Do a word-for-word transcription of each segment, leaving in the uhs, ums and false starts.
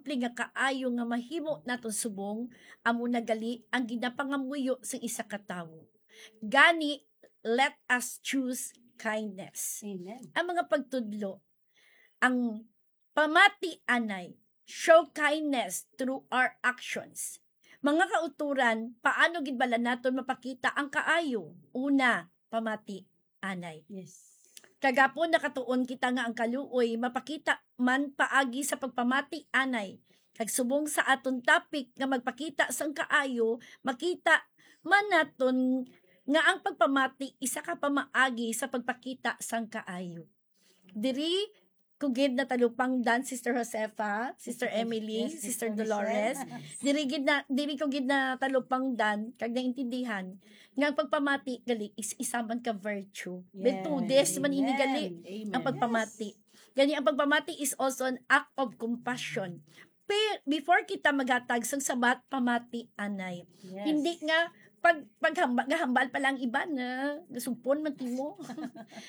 simple nga kaayo nga mahimo naton subong, amo na gali ang ginapangamuyo sa isa ka tawo. Gani, let us choose kindness. Amen. Ang mga pagtudlo, ang pamati anay, show kindness through our actions. Mga kauturan, paano gid bala naton mapakita ang kaayo? Una, pamati anay. Yes. Kagapon nakatuon kita nga ang kaluoy mapakita man paagi sa pagpamati anay. Kag subong sa aton topic nga magpakita sang kaayo, makita man naton nga ang pagpamati isa ka pamaagi sa pagpakita sang kaayo. Diri ko gid natalupangdan, Sister Josefa, Sister Emily, Yes, Sister Sister Dolores. Michelle. Diri gid na diri ko gid natalupangdan kag naintindihan nga ang pagpamati gali is isa man ka virtue. Virtudes man ini gali Amen. ang pagpamati. Gani ang pagpamati is also an act of compassion. Pe, before kita maghatag sang sabat, pamati anay. Yes. Hindi nga pag paghamba, gahambal pa lang iban na gasugpon man timo.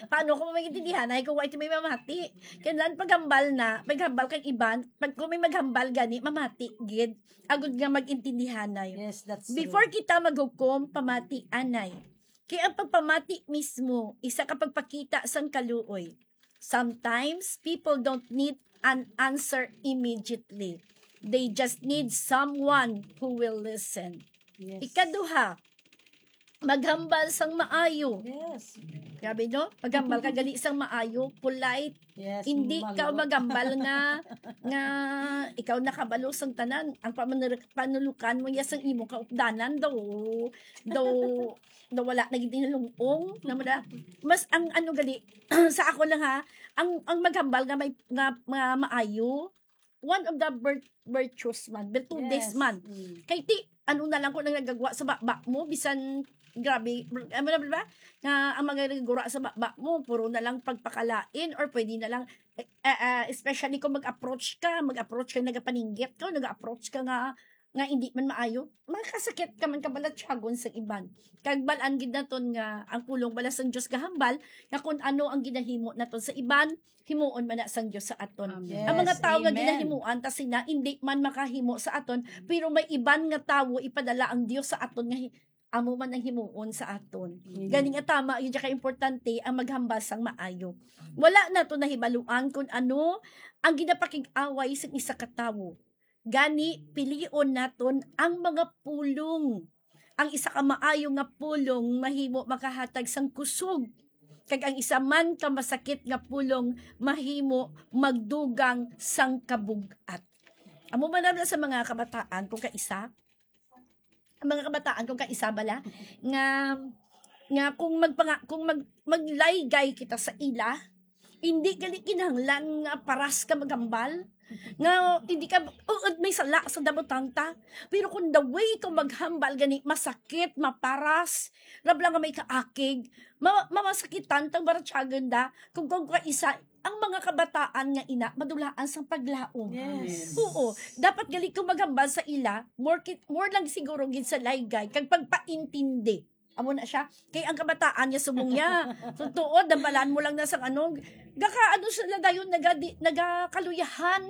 Paano ko maintindihan ay kung wala may mamati? Kailan paghambal na, paghambal kang iban, pag kung may maghambal gani, mamati gid. Agud nga maintindihan na yun. Yes, that's Before true. Kita maghukom, pamati anay. Kay ang pagpamati mismo, isa ka pagpakita sang kaluoy. Sometimes, people don't need an answer immediately. They just need someone who will listen. Yes. Ikaduha, maghambal sang maayo. Yes. Grabe, no? Maghambal ka gali sang maayo, polite. Yes. Hindi ka maluwag. Maghambal nga nga ikaw nakabalo sang tanan. Ang pamanur- panulukan mo niya sang imong kaupdanan daw. Daw daw wala na gid nalung-ong. Namada, mas ang ano gali, sa ako lang ha, ang ang maghambal nga may nga, nga maayo, one of the vir- virtues man, virtudes Yes. Man. Mm. Kay ti, ano na lang kung ang nagagwa sa baba mo, bisan grabe, ano na ba? Nga ang mga nagagura sa baba mo, puro na lang pagpakalain or pwede na lang, eh, eh, eh, especially kung mag-approach ka, mag-approach ka, nagapaninggit ka, nag-approach ka nga, nga hindi man maayo, makasakit ka man kabalatyagon sa iban. Kag balaan gid naton nga ang pulong bala sang Dios gahambal nga kung ano ang ginahimo naton sa iban, himuon man na sang Dios sa aton. Amen. Ang mga Yes, tawo nga amen. Ginahimuan ta sina, hindi man makahimo sa aton, pero may iban nga tawo ipadala ang Dios sa aton nga hi- amo man ang himuon sa aton. Amen. Gani nga tama, yun ka importante ang maghambal sang maayo. Wala nato nahibaluan kung ano ang ginapakig-away sang isa ka tawo. Gani, pilion naton ang mga pulong. Ang isa ka maayo nga pulong mahimo makahatag sang kusog, kag ang isa man ka masakit nga pulong mahimo magdugang sang kabug-at. Amo man na sa mga kabataan kung kaisa, ang mga kabataan kung kaisa bala nga nga kung magpanga, kung mag, maglaygay kita sa ila, hindi gali kinahanglan nga paras ka maghambal. Nga hindi ka, uod may sala sa dabutang ta. Pero kung the way ka maghambal gani, masakit, maparas, rabla nga may kaakig, ma, mamasakitan tang baratyagan da, kung kung kaisa, ang mga kabataan nga ina, madulaan sang paglaom. Yes. Oo, dapat gali kung maghambal sa ila, more, kit, more lang siguro gid sa laygay, kag pagpaintindi. Amo na siya. Kay ang kabataan niya subong niya. So, tuod, dambalan mo lang na sang ano, gaka, ano sila dayon, naga, di, nagakaluyahan.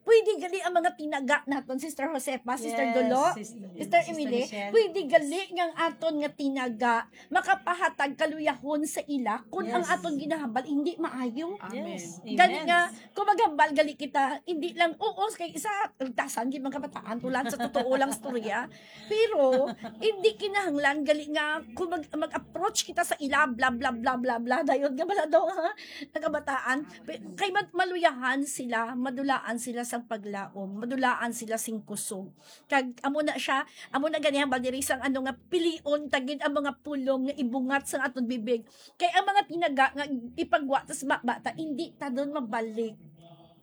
Pwede gali ang mga tinaga naton, Sister Josefa, Sister Yes, Dolo, Sis- Sister Sister Emily, Michelle. Pwede gali nga ang aton nga tinaga makapahatag kaluyahon sa ila kung ang Yes. Aton ginahambal hindi maayo. Amen. Yes. Gani Amen. Nga, kung maghambal gali kita, hindi lang, oo, kay isa, tasan gid mga kabataan, tulan sa totoo lang storya. Pero, hindi kinahanglan gali nga kung mag, mag-approach kita sa ila, bla, bla, bla, bla, bla, dayon nga bala daw, ha? Nagabataan. Pe- Kay mat- maluyahan sila, madulaan sila sang paglaom, madulaan sila sing kusog. Kag, amo na siya, amo na gani ang baldirisang ano nga pilion, tagid ang mga pulong nga ibungat sa aton bibig. Kay ang mga tinaga nga ipagwa ta sa ba- bata, hindi ta doon mabalik.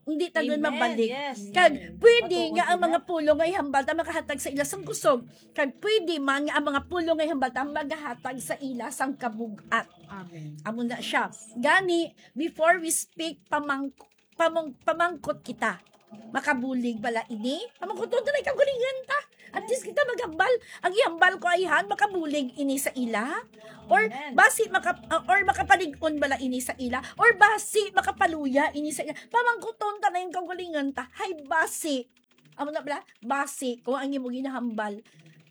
Hindi ta doon Amen. Mabalik. Yes. Kag Amen. pwede Matuod nga ang sila. Mga pulong nga ihambal ta makahatag sa ila sang kusog. Kag pwede man nga ang mga pulong nga ihambal ta magahatag sa ila sang kabug-at. Amen. Amo na siya. Gani, before we speak, pamang, pamang, pamangkot kita. Makabulig bala ini? Pamangkuton ta na ikaw galingan ta. At least kita maghambal. Ang ihambal ko ay han, makabulig ini sa ila? Or Amen. Basi maka, uh, or makapalig-on bala ini sa ila? Or basi makapaluya ini sa ila? Pamangkuton ta na yung kaugalingan ta. Hay basi. Amo na bala, basi kung ang imo ginahambal,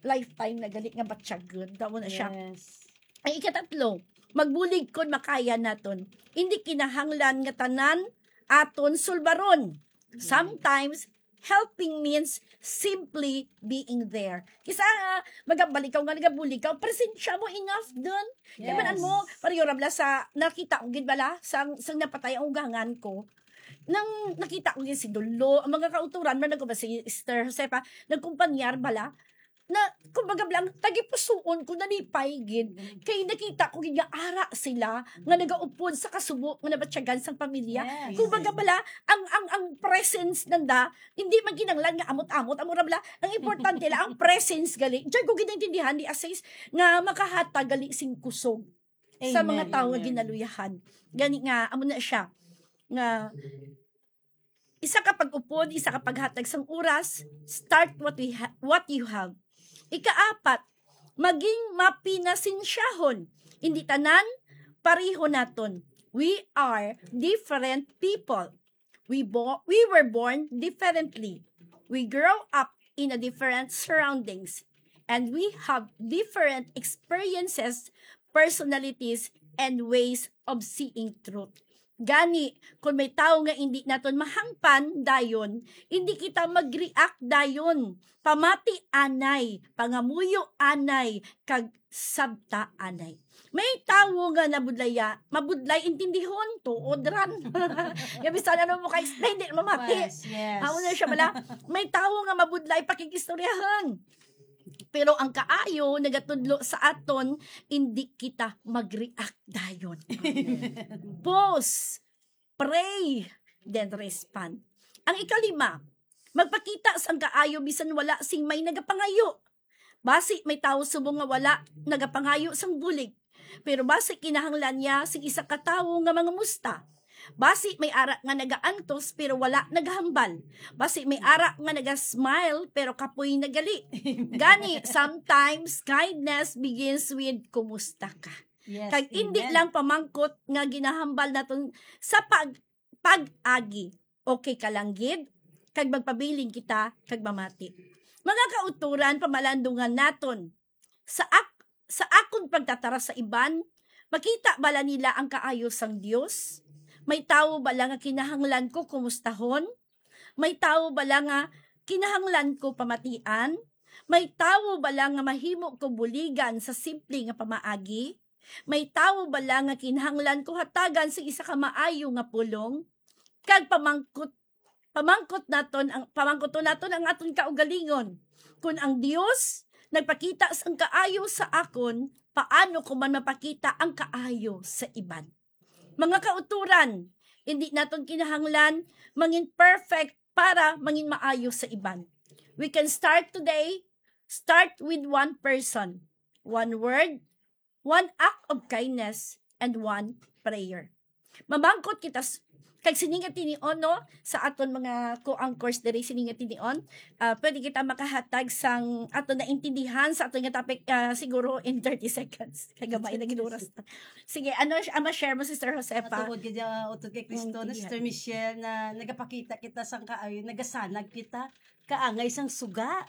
lifetime na gali nga batyagon. Amo na siya. Yes. Ang ikatatlo, magbulig kon makaya naton. Hindi kinahanglan nga tanan aton sulbaron. Sometimes, helping means simply being there. Kisa nga, magabalik ka nga nagabulig ka, presensya mo enough dun. Yes. Kaya man mo, pareho ra bala sa, nakita ko gid bala, sang, sang napatay ang ugangan ko. Nang nakita ko gid si Dolo, ang mga kauturan, man ako ba si Sister Josefa, nagkumpanyar bala, na, kumbaga lang, tagipusuon ko, nalipay gid. Kay nakita ko gid nga ara sila, nga nagaupod sa kasubo nga nabatyagan sang pamilya. Yes. Kumbaga bala, ang, ang, ang presence nanda, hindi man kinahanglan nga amot-amot, amo ra bala, ang importante lang, ang presence gali. Diyan ko ginaintindihan ni Asis nga makahatag gali sing kusog sa mga Amen, tawo nga amen. Ginaluyahan. Gani nga, amo na siya, nga isa ka pag-upod, isa ka paghatag sang oras, start what we ha- what you have. Ikaapat, maging mapinasensyahon. Hindi tanan pareho naton. We are different people. We bo- we were born differently. We grow up in a different surroundings. And we have different experiences, personalities, and ways of seeing truth. Gani, kung may tawo nga hindi naton mahangpan dayon, hindi kita mag-react dayon. Pamati anay, pangamuyo anay, kag sabta anay. May tawo nga nabudlaya, mabudlay intindihon, tuod ran. Nga bisan ano mo ka-explain, di mamati. Yes, yes. Amo na siya bala. May tawo nga mabudlay pakig-istoryahan. Pero ang kaayo nagatudlo sa aton, hindi kita mag-react dayon. Pause, pray, then respond. Ang ikalima, magpakita sang kaayo bisan wala sing may nagapangayo. Basi may tawo subong nga wala nagapangayo sang bulig, pero basi kinahanglan niya sing isa ka tawo nga mangamusta. Basi may ara nga nagaantos pero wala nagahambal. Basi may ara nga naga-smile pero kapoy na gali. Gani, sometimes kindness begins with kumusta ka. Yes, Kag hindi amen. Lang pamangkot nga ginahambal naton sa pag pag-agi. Okay ka lang gid, kag magpabilin kita kag mamati. Mga kauturan, pamalandungan naton. Sa ak- sa akon pagtatara sa iban, makita bala nila ang kaayo sang Dios? May tawo bala nga kinahanglan ko kumustahon? May tawo bala nga kinahanglan ko pamatian? May tawo bala nga mahimo ko buligan sa simple nga pamaagi? May tawo bala nga kinahanglan ko hatagan sa isa ka maayo nga pulong? Kag pamangkot pamangkot naton ang pamangkoton naton ang aton kaugalingon. Kun ang Dios nagpakita sang kaayo sa akon, paano ko man mapakita ang kaayo sa iban? Mga kauturan, hindi naton kinahanglan mangin perfect para mangin maayo sa iban. We can start today. Start with one person, one word, one act of kindness, and one prayer. Mamangkot kita s- kag sini nga tinion, no, sa aton mga co-anchors diri, sini nga tinion, ah, pwede kita makahatag sang aton naintindihan sa aton nga topic, ah, siguro in thirty seconds. Kay gamay na gid oras. Sige, ano ang ma-share mo, Sister Josefa? Matuod gid, ah, utod kay Kristo, Mm, na iya. Sister Michelle, na nagapakita kita sang kaayo, nagasanag kita kaangay sang suga.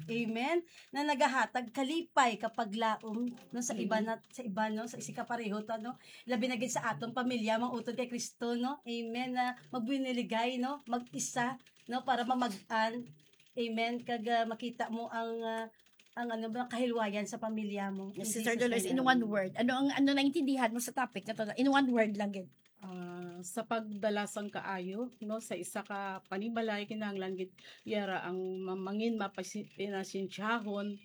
Amen. Na nagahatag kalipay, kapaglaom, no, sa Mm. iban na, sa iban, no, sa isi ka pareho ta, no. Labi na gid sa atong pamilya, mga utod kay Kristo, no. Amen. Na magbiniligay, no, mag-isa, no, para mamag-an. Amen. Kag, ah, makita mo ang, ah, ang ano ba, kahilwayan sa pamilya mo. In Sister Jesus' Dolores, name, in amen. One word, ano ang ano naintindihan mo sa topic na to? In one word lang gid. Ah, sa pagdala sang kaayo, no, sa isa ka panimalay, kinahanglan gid yara ang mamangin mapasi-, pinasensyahon,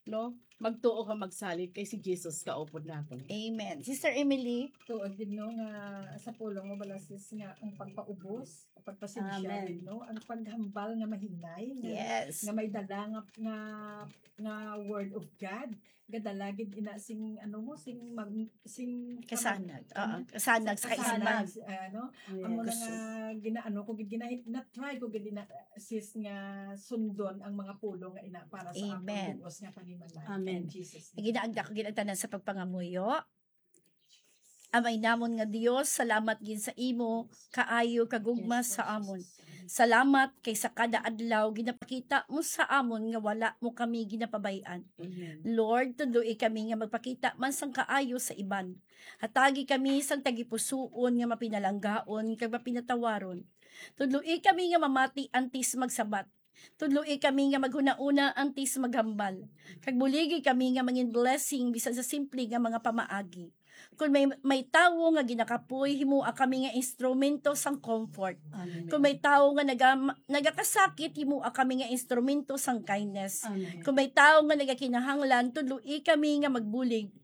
no, magtuo ka magsalig kay si Jesus kaupod naton. Amen. Sister Emily? Tuod gid, no, nga sa pulong mo bala, sis, nga ang pagpaubos, pagpasensya Amen. gid, no, ang paghambal nga mahinay, nga, Yes. Nga may dala nga, nga, nga word of God, gadala gid ina sing, ano mo, sing mag-, sing Kasanag. ano, Oo, kasanag sa kasanag, kaispan. Ano, amo na Yes. Nga ginaano ko gid, gina-, na-try ko gid na, sis, nga sundon ang mga pulong nga ina para sa Amen. Akong bugos nga panimalay. Amen. In Jesus' name. Ginaagda ko gid ang tanan sa pagpangamuyo. Amay namon nga Dios, salamat gid sa imo kaayo kagugma Yes, sa Lord amon. Jesus. Salamat kay sa kada adlaw ginapakita mo sa amon nga wala mo kami ginapabay-an. Amen. Lord, tudloi kami nga magpakita man sang kaayo sa iban. Hatagi kami sang tagipusoon nga mapinalanggaon kag mapinatawaron. Tudloi kami nga mamati antes magsabat. Tudloi kami nga maghunahuna antes maghambal. Kag buligi kami nga mangin blessing bisan sa simple nga mga pamaagi. Kung may, may tawo nga ginakapoy, himoa kami nga instrumento sang comfort. Amen. Kung may tawo nga naga-, nagakasakit, himoa kami nga instrumento sang kindness. Amen. Kung may tawo nga nagakinahanglan, tudloi kami nga magbulig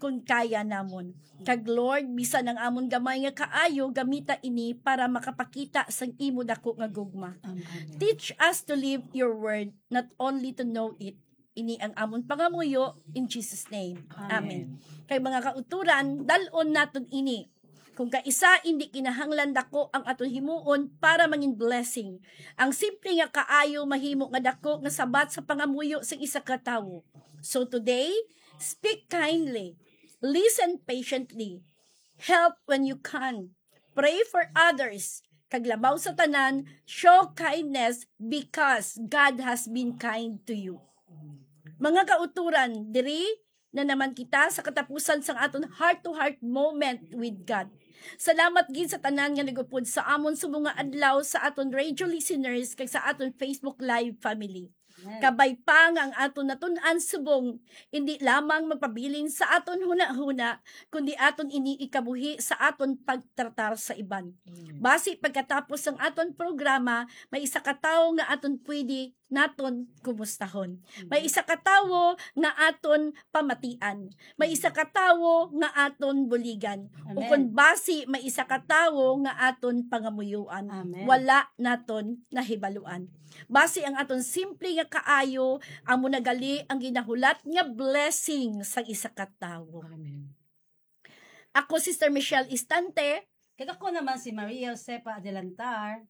kung kaya namon. Kag Lord, bisan ang amon gamay nga kaayo, gamita ini para makapakita sang imo dako nga gugma. Amen. Teach us to live your word, not only to know it. Ini ang amon pangamuyo in Jesus' name. Amen. Amen. Kay mga kauturan, dal-on naton ini. Kung kaisa, indi kinahanglan dako ang aton himuon para mangin blessing. Ang simple nga kaayo mahimo nga dako nga sabat sa pangamuyo sa isa ka tawo. So today, speak kindly, listen patiently, help when you can, pray for others, kag labaw sa tanan, show kindness because God has been kind to you. Mga kauturan, diri na naman kita sa katapusan sang aton heart-to-heart moment with God. Salamat gid sa tanan nga nag-upod sa amon subong nga adlaw sa aton radio listeners kag sa aton Facebook Live family. Amen. Kabay pa nga ang aton natun-an subong indi lamang magpabilin sa aton hunahuna, kundi aton ini ikabuhi sa aton pagtratar sa iban. Amen. Basi pagkatapos sang aton programa, may isa ka tawo nga aton pwede naton kumustahon. May isa ka tawo nga aton pamatian. May isa ka tawo nga aton buligan. Amen. Ukon basi may isa ka tawo nga aton pangamuyuan. Amen. Wala naton nahibaluan. Basi ang aton simple nga kaayo amo na gali ang ginahulat nga blessing sang isa ka tawo. Amen. Ako, Sister Michelle Istante. Kag ako naman si Maria Josefa Adelantar.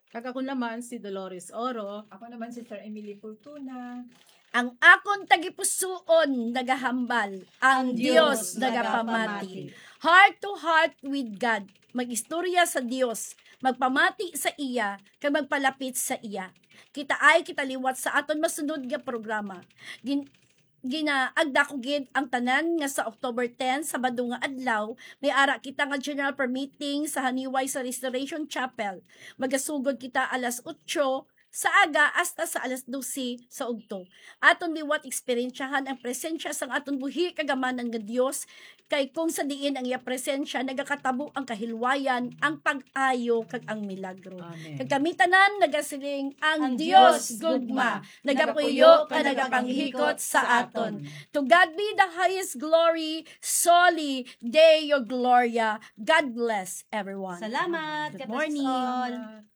Kag ako naman si Dolores Oro. Ako naman, Sister Emily Fortuna. Ang akon tagipusoon nagahambal, ang Ang Dios Dios nagapamati. nagapamati. Heart to heart with God. Mag-istorya sa Dios, magpamati sa iya, kag magpalapit sa iya. Kita ay kita liwat sa aton masunod nga programa. Gin-, ginaagda ko gid ang tanan nga sa October ten, Sabado nga adlaw, may ara kita nga general prayer meeting sa Haniway sa Restoration Chapel. Magasugod kita alas otso sa aga hasta sa alas dose sa ugto. Aton liwat eksperyensyahan ang presensya sang aton buhi kag amanan nga Dios, kay kung sa diin ang iya presensya nagakatabo ang kahilwayan, ang pag-ayo, kag ang milagro. Amen. Kag kami tanan nagasiling, ang Ang Dios Dios gugma, gugma, nagapuyo nagapuyo ka, ka nagapanghikot nagapanghikot sa sa aton. aton. To God be the highest glory, Soli Deo Gloria. God bless everyone. Salamat. Good God bless morning. all.